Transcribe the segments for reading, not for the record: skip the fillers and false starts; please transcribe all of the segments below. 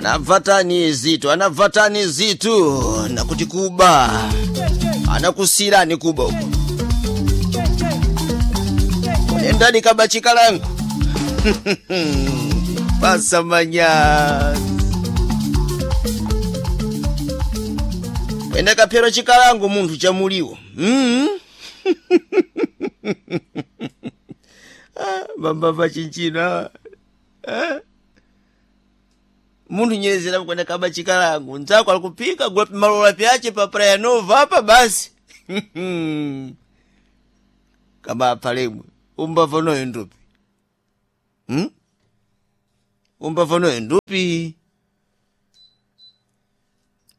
Anavatani zitu, anavatani zitu nakuti kuba anakusirani kuba uko nendani kaba chikalangu pasamanya kwenda kaphero chikalangu munthu chamuliwo Mambava chinchino munthu nyerezera kwenda kaba chikalangu nzako alikupika gula malola pyache pa Praia Nova apa basi. Kama apalemwe umbava noyo ndupi, Umbava noyo ndupi.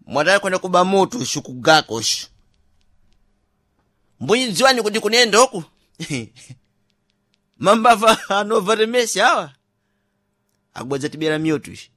Mwadala kwenda kuba moto shukugako shu mbunyi dziwani kuti kunenda oku. Mambava anova temesi awa akubwedza tibera mioto ishi.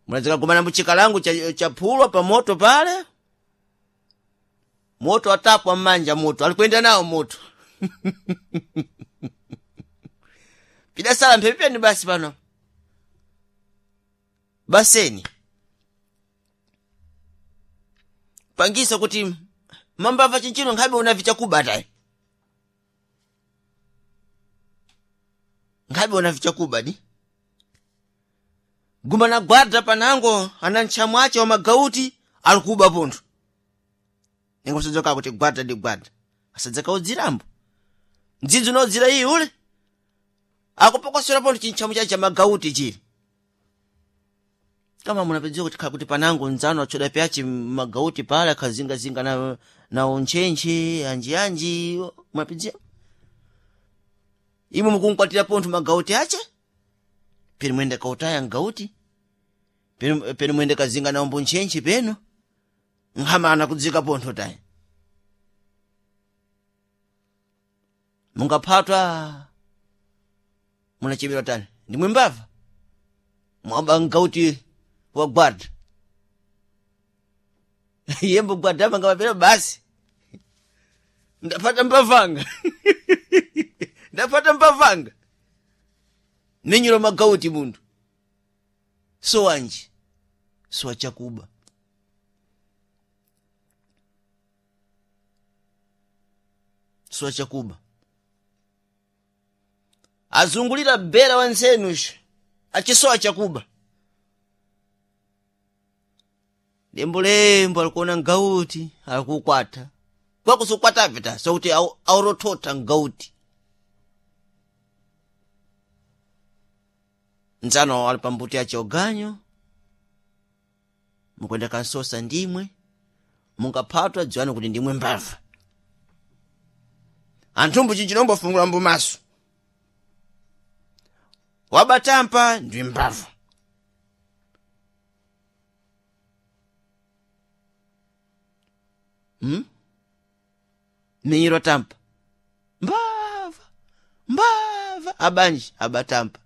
Munadzikagumana mbuchikalangu cha phulwa pa moto pale moto atapwa mmanja moto alikwenda nawo moto. Pidasala mphepepeni basi pano baseni pangisa kuti mambava chinchino nkhabe unavi chakuba tayi nkhabe unavi chakuba di gumana gwada panango ana ntchamu ache wa magauti alikuba pontho ningo sadzoka kuti gwada ndi gwada asadzaka udzirambo mdzidzi unodzira iyi ule akupokosera pontho chintchamu chache cha magauti chili kama munapedziwa kuti kuti panango nzano achoda pyache magauti pale akhazingazinga na untchentche anjianji munapedziwa imwe mukunkwatira pontho magauti ache penu mwende kautaya ngauti penu mwende kazinga nawo mbuntchentche penu nkhama anakudzika pontho tayi mungaphatwa munachebedwa tani ndimwe mbava mwaba ngauti wa gwada yembo gwada manga mapera basi ndapata mbavanga. Ndapata mbavanga menyero magauti munthu sowanji sowa chakuba sowa chakuba azungulira bera wansenuxo achisowa chakuba lembolembo alikuona ngauti alikukwata kwakusukwatapita sokuti aurothotha ngauti nzano ali pambuti ache oganyo mukwenda kansosa ndimwe mungaphatwa dziwani kuti ndimwe mbava anthumbu chinchinombofungula mbumaso wabatampa ndi mbava. Menyero tampa mbava mbava abanji abatampa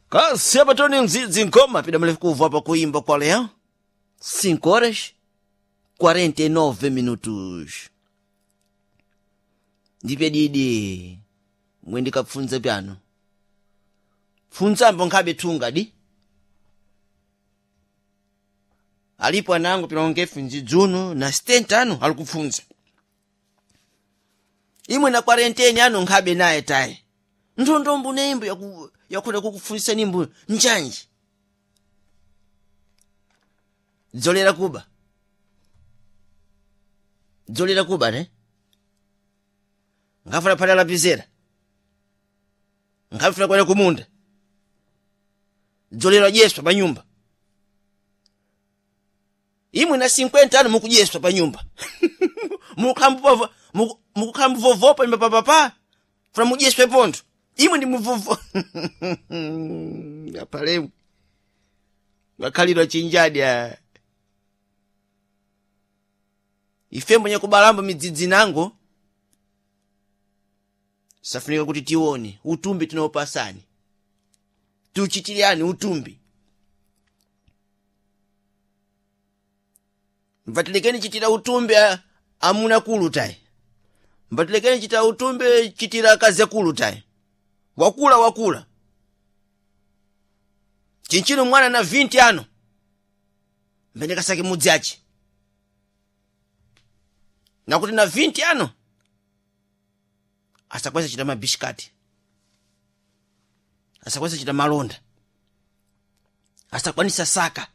kasi apatoni mdzidzi nkoma pida mlefu kuvu apa kuimba kwa leo 5 horas 49 minutos ndipe didi mwendikapfunza pyano pfunzambo nkhabe thunga di alipo anango pilongefu nzidzuno na 70 anu alikupfunza imwe na 40 anu nkhabe naye tayi nthondombo neimbo yakuda kukupfunzisa nimbo njanji dzolera kuba dzolera kuba ne nkhafuna phata lapizera nkhafuna kwenda kumunda dzolera dyeswa pa nyumba imwe na 50 anu mukudyeswa pa nyumba mukukhala muvovopa nyumba papapa funa mudyeswe pontho imwe ndi muvovo apalemu ngakhalidwa chinjadi ife mbonye kubalamba midzidzi nango safunika kuti tione utumbi tinaopasani tiuchitirani utumbi mvatilekeni chitira utumbi amuna kulu tayi. Mbatilekeni chita utumbe chitira akazi akulu tayi. Wakula wakula. Chinchino mwana na 20 ano. Mbene kasake mudzi achi. Nakuti na 20 ano asakweza chita mabishikati. Asakweza chita malonda. Asakwanisa saka.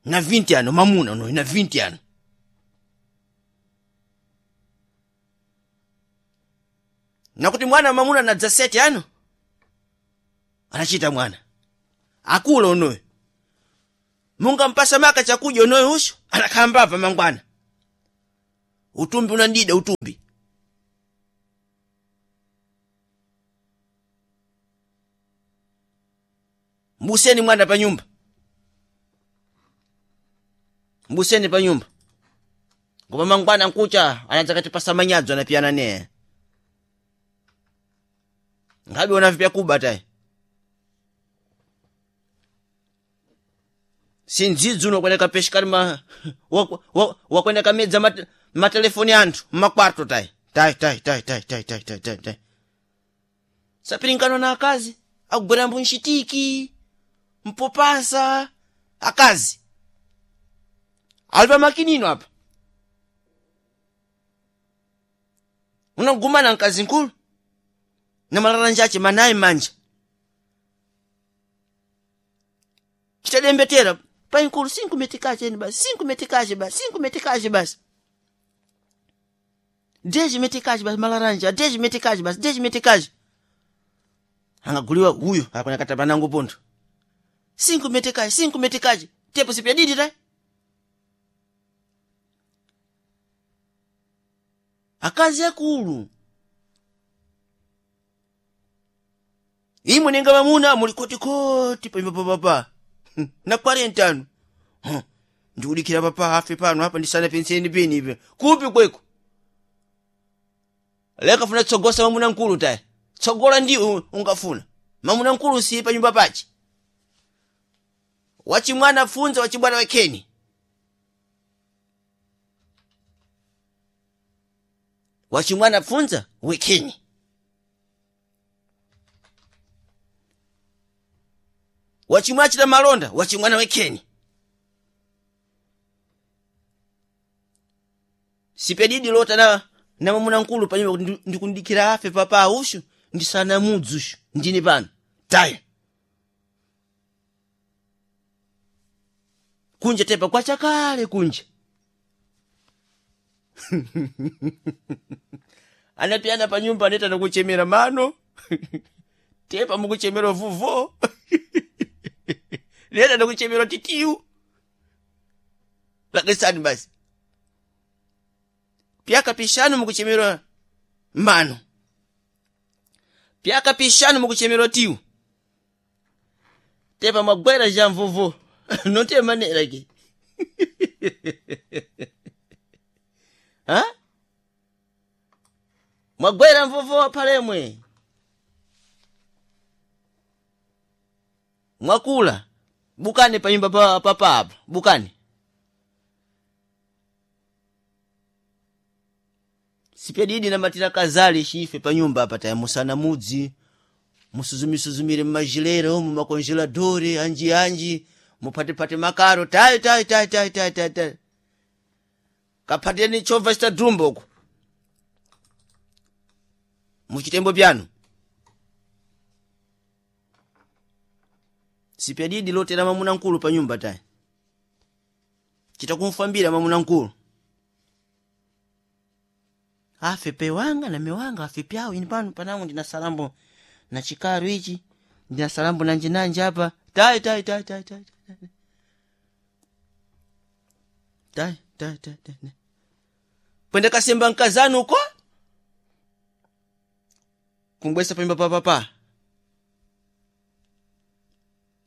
Na 20 ano mamuna no na 20 ano. Nakuti mwana mamuna na 17 ano anachita mwana. Akula onoyo. Munga mpasa maka chakudya onoyo usho anakhamba apa mangwana. Utumbi unandida utumbi. Mbuseni mwana pa nyumba. Mbuseni pa nyumba. Ngoma mangwana nkucha anaanza katipasa manyadzo anapiyana neye. Ngabi ona kuba tayi. Sindzidzi unokwenda kapeshikali ma wakwenda kamedza matelefoni anthu mmakwarto tayi. Tayi tayi tayi tayi tayi tayi tayi tayi tayi. Sapirinkano na akazi akugwera mbunchitiki mpopasa akazi. Ali pa makinino apa. Unagumana mkazi nkulu na malalanja ache manayi manja. Chitadembetera pai nkulu 5 metikache eni basi 5 metikache basi 5 metikache basi. 10 metikache basi malaranja 10 metikache basi 10 metikache. Angaguliwa huyo akona kataba nangu pontho. 5 metikache 5 metikache tepo sipya didi tai. Akazi akulu. Imwe nenga mamuna muli koti koti pa papa. Na 40 ano. Ndikulikira papa afe pano apa ndisana penseni peni ipe. Kupi kweko. Leka funa tsogosa mamuna nkulu tayi. Tsogola ndi ungafuna. Mamuna nkulu si pa nyumba pachi. Wachimwana funza wachibwana wekeni. Wachimwana funza wekeni. Wachimwana chita malonda wachimwana wekeni. Sipedidi lota na mamuna nkulu panyumba kuti ndikundikira afe papa ushu ndisana mudzi ushu ndini pano taya. Kunja tepa kwachakale kunja. Anapiyana pa nyumba aneta nakuchemera mano. Tepa mukuchemera vuvo. Neta nakuchemera titiu. Lakisani basi. Pyaka pishanu mukuchemera mano. Pyaka pishanu mukuchemera tiu. Tepa magwera ja mvuvu. Note manera ke. Ha? Mwagwera mvuvu apalemwe. Mwakula. Bukani pa nyumba pa papa apa. Bukani. Sipedidi na matira kazali shife pa nyumba apa taya musana mudzi. Musuzumisuzumire mmajilero mu makongeladore anji anji mupatepate makaro tayi tayi tayi tayi tayi tayi tayi. Kapateni chova chita dumbo uko. Muchitembo pyanu. Sipedidi lotera mamuna nkulu pa nyumba tayi. Chitakumfambira mamuna nkulu. Afe pe wanga na mewanga afe pyawo ini pano panangu ndina salambo na chikaru ichi ndina salambo nanje nanje apa tayi tayi tayi tayi tayi tayi tayi tayi tayi pwende kasemba nkazanu uko kumbwesa panyumba papapa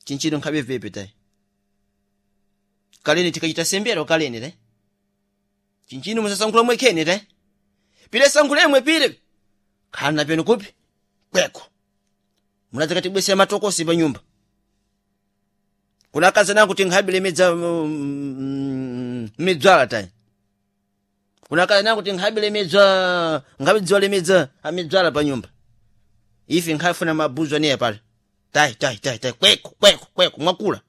chinchino nkhabe vepe tayi kaleni tikachita sembero kaleni tayi chinchino musasankhula mwekhene tayi pile sankhulemwe pile khala peno kupi kweko munadzakatibwesera matokosi pa nyumba kuna akazana kuti nkhabe lemedza midzwala tayi. Kunakala nangu kuti nkhabilemedzwa nkhabidziwa lemedza amedzwala pa nyumba. Ife nkhafuna mabuzo aneya pale. Tai tai tai tai kweko kweko kweko mwakula.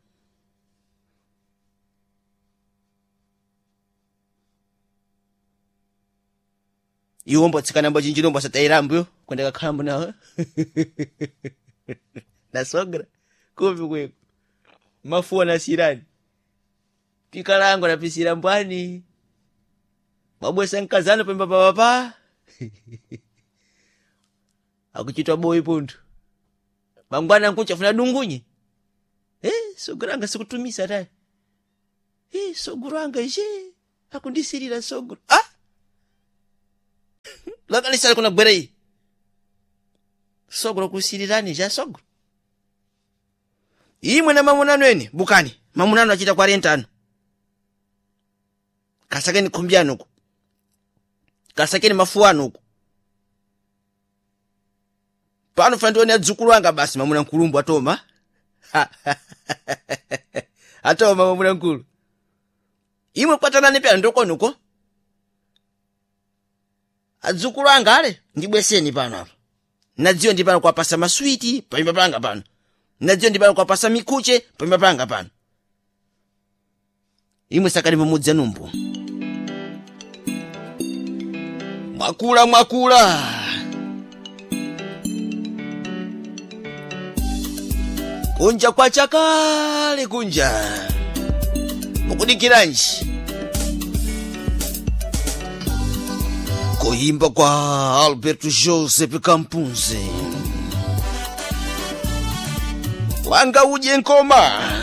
Iwo mbotsikana mbo chinjino mbosatairambuyo kwenda kakhalambo nawo. Nasogra kupi kweko. Mafuwa nasirani. Pikalango napisira mbwani. Mabwesa nkazano pemba papapa. Akuchitwa boyi puntu. Mangwana nkucha funa dungunye. Sogro anga sikutumisa tayi. Sogro anga je. Akundisirira sogro. Ah! Lakalisala kuna gwere iyi. Sogro kusirirani ja sogro. Imwe na mamunano eni bukani. Mamunano achita 40 ano. Kasakeni khumbyano uko. Kasakeni mafuwano uko. Pano fandione adzukulu anga basi mamuna nkulumbu atoma. Atoma mamuna nkulu. Imwe kwatanani pya ndokoni uko. Adzukulu anga ale ndibweseni pano apa. Nadziyo ndi pano kwapasa maswiti panyumba panga pano. Nadziyo ndi pano kwapasa mikuche panyumba panga pano. Imwe sakani pamudzi anumbu. Mwakula mwakula. Kunja kwa chakale kunja. Mukudikiranji. Kuimba kwa Alberto Joseph Kampunzi. Wanga uje nkoma.